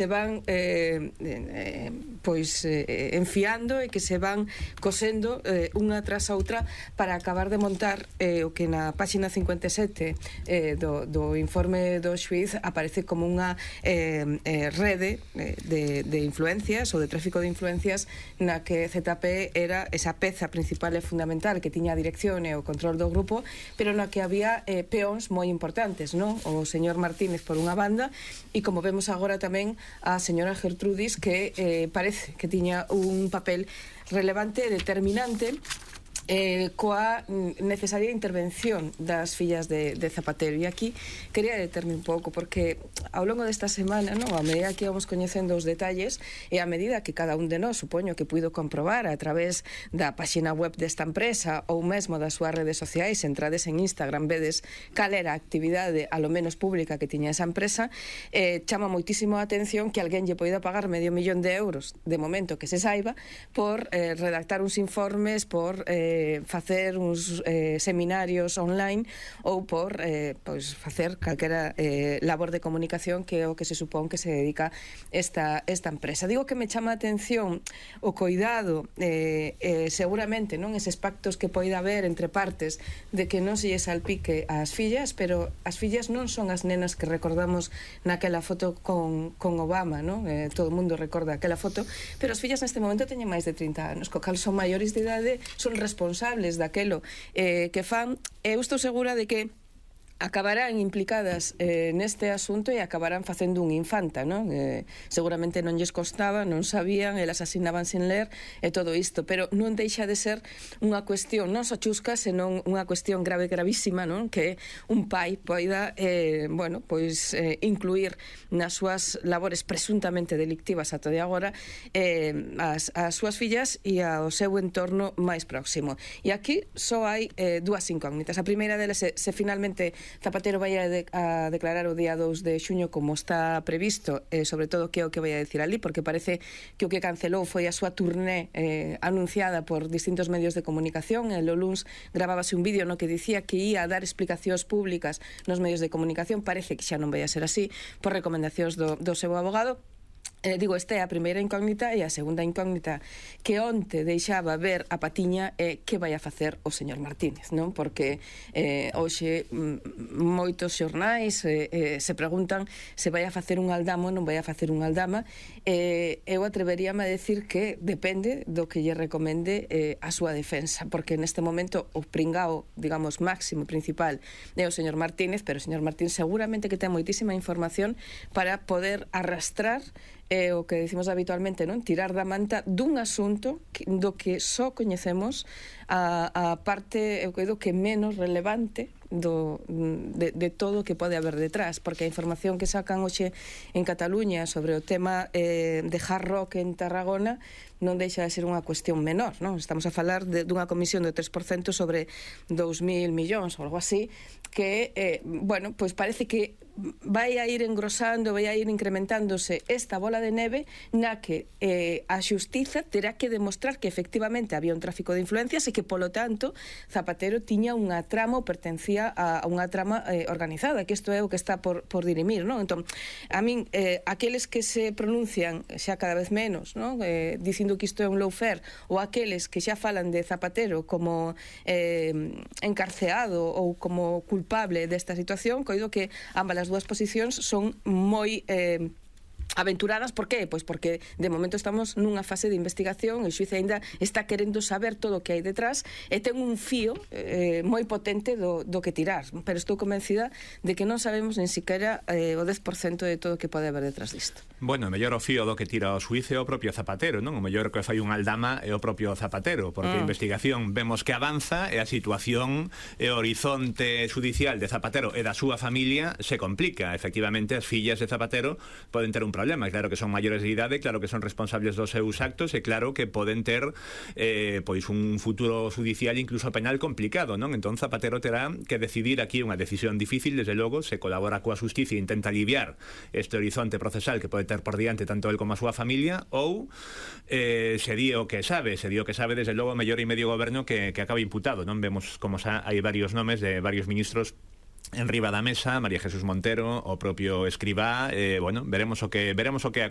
se van enfiando e que se van cosendo unha tras a outra para acabar de montar o que na páxina 57 do informe do xuiz aparece como unha rede de influencias ou de tráfico de influencias na que ZP era esa peza principal e fundamental que tiña a dirección e o control do grupo, pero na que había peóns moi importantes, non? O señor Martínez por unha banda e, como vemos agora, tamén a señora Gertrudis, que parece que tiña un papel relevante e determinante coa necesaria intervención das fillas de Zapatero. E aquí quería determe un pouco, porque ao longo desta semana, non, a medida que íbamos coñecendo os detalles e a medida que cada un de nós, supoño que puido comprobar a través da páxina web desta empresa ou mesmo das súas redes sociais, entrades en Instagram, vedes cal era a actividade a lo menos pública que tiña esa empresa, chama moitísimo a atención que alguén lle poida pagar €500.000 de momento que se saiba por redactar uns informes, por facer uns seminarios online ou por facer calquera labor de comunicación, que é o que se supón que se dedica esta empresa. Digo que me chama a atención o coidado, seguramente, non, eses pactos que poida haber entre partes de que non se lle salpique ás fillas, pero as fillas non son as nenas que recordamos naquela foto con Obama, non? Todo o mundo recorda aquela foto, pero as fillas neste momento teñen máis de 30 anos, co cal son maiores de idade, son responsables daquelo que fan. Eu estou segura de que acabarán implicadas neste asunto e acabarán facendo un infanta, non? Seguramente non lles costaba, non sabían, elas asinaban sin ler e todo isto, pero non deixa de ser unha cuestión non só chusca, senón unha cuestión grave, gravísima, non? Que un pai poida incluir nas súas labores presuntamente delictivas ata de agora as súas fillas e ao seu entorno máis próximo. E aquí só hai dúas incógnitas. A primeira delas é se finalmente Zapatero vai a declarar o día 2 de xuño como está previsto, sobre todo que é o que vai a decir ali, porque parece que o que cancelou foi a súa turné anunciada por distintos medios de comunicación. O luns gravábase un vídeo no que dicía que ia a dar explicacións públicas nos medios de comunicación. Parece que xa non vai a ser así por recomendacións do seu abogado. Digo, esta é a primeira incógnita, e a segunda incógnita que onte deixaba ver a patiña é que vai a facer o señor Martínez, non? Porque hoxe moitos xornais se preguntan se vai a facer un aldama ou non vai a facer un aldama. Eu atreveríame a decir que depende do que lle recomende a súa defensa, porque neste momento o pringao, digamos, máximo, principal é o señor Martínez, pero o señor Martínez seguramente que ten moitísima información para poder arrastrar o que decimos habitualmente, non? Tirar da manta dun asunto do que só coñecemos a parte, eu creo que menos relevante de todo o que pode haber detrás, porque a información que sacan hoxe en Cataluña sobre o tema de hard rock en Tarragona non deixa de ser unha cuestión menor, non? Estamos a falar dunha comisión do 3% sobre 2.000 millóns ou algo así, que, bueno, pois parece que vai a ir engrosando, vai a ir incrementándose esta bola de neve na que a xustiza terá que demostrar que efectivamente había un tráfico de influencias e que, polo tanto, Zapatero tiña unha trama ou pertencía a unha trama organizada, que isto é o que está por dirimir, non? Entón, a min, aqueles que se pronuncian xa cada vez menos, non? Dicindo que isto é un lawfare, ou aqueles que xa falan de Zapatero como encarceado ou como culpable desta situación, coido que ambas as dúas posicións son moi aventuradas. Por qué? Pois porque de momento estamos nunha fase de investigación e o xuiz ainda está querendo saber todo o que hai detrás e ten un fío moi potente do que tirar, pero estou convencida de que non sabemos nin siquiera o 10% de todo o que pode haber detrás disto. Bueno, o mellor o fío do que tira o xuiz é o propio Zapatero, non? O mellor que fai un aldama é o propio Zapatero, porque a investigación vemos que avanza e a situación e o horizonte judicial de Zapatero e da súa familia se complica. Efectivamente, as fillas de Zapatero poden ter un problema, claro que son maiores de idade, claro que son responsables dos seus actos e claro que poden ter pois un futuro judicial incluso penal complicado, non? Entón Zapatero terá que decidir aquí unha decisión difícil, desde logo, se colabora coa xusticia e intenta aliviar este horizonte procesal que pode ter por diante tanto el como a súa familia, ou se di o que sabe, desde logo, mellor e medio goberno que acaba imputado, non? Vemos como xa hai varios nomes de varios ministros en riba da mesa María Jesús Montero, o propio Escribá, bueno, veremos o que acontece.